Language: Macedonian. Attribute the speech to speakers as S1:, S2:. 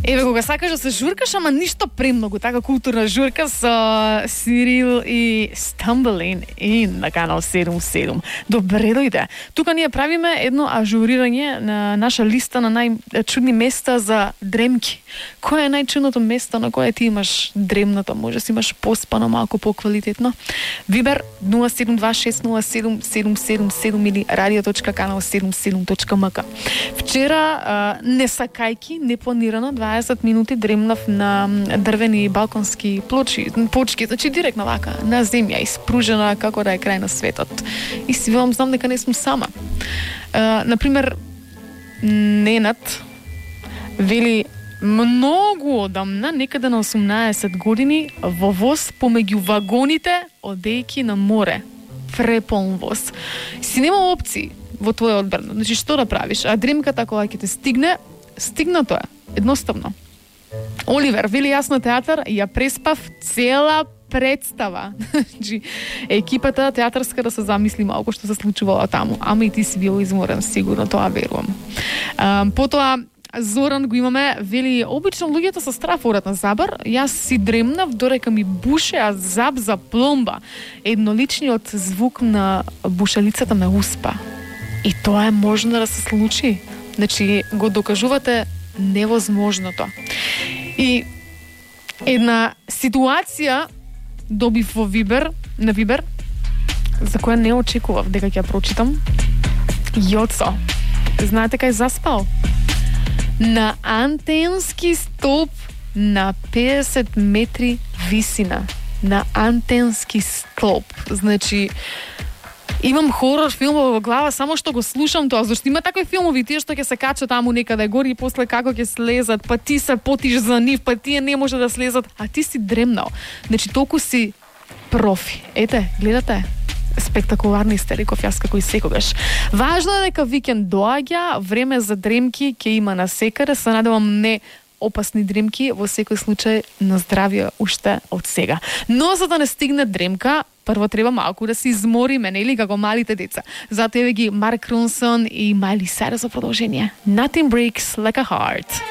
S1: Еве, кога сакаш да се журкаш, ама ништо премногу, така културна журка со Сирил и Stumbling In на канал 77. Добре дојде. Тука ние правиме едно ажурирање на наша листа на најчудни места за дремки. Кој е најчудното место на кое ти имаш дремното? Може си имаш поспано малку поквалитетно. Вибер 0726077777 или radio.kanal77.mk. Вчера не сакајки, непланирано 20 минути дремнав на дрвени балконски почки, значи директно вака, на земја, испружена како да е крај на светот. И си велам, знам дека не сум сама. Например, Ненат вели многу одамна, некаде на 18 години, во воз помеѓу вагоните, одејки на море. Преполн воз. Си нема опции во твоја одбрана. Значи, што да правиш? А дремката кога ќе те стигне, стигнато е. Едноставно. Оливер, вели јас на театар, ја преспав цела представа. Значи, екипата театарска да се замисли малку што се случувало таму. Ама и ти си бил изморен, сигурно, тоа верувам. Потоа, Зоран го имаме, вели, обично луѓето со страф одат на забар, јас си дремнав додека ми бушеа заб за пломба. Едноличниот звук на бушалицата ме успа. И тоа е можно да се случи. Значи, го докажувате невозможното. И една ситуација добив во Вибер, на Вибер, за која не очекував дека ќе ја прочитам. Јоцо, знаете кај заспал? На антенски столб на 50 метри висина. На антенски столб. Значи, имам хорор филмови во глава, само што го слушам тоа, зашто има такви филмови, тие што ќе се качат таму некаде гори и после како ќе слезат, па ти се потиш за нив, па тие не може да слезат, а ти си дремнал. Значи, толку си профи. Ете, гледате? Спектакуларни сте, реков јас како и секогаш. Важно е дека викенд доаѓа, време за дремки ќе има на секаде, се надевам не опасни дремки, во секој случај на здравје уште од сега. Но за да не стигне дремка, прво треба малку да се измориме, нели, како малите деца. Затоа еве ги Марк Ронсон и Майли Сайрус за продолжение. Nothing breaks like a heart.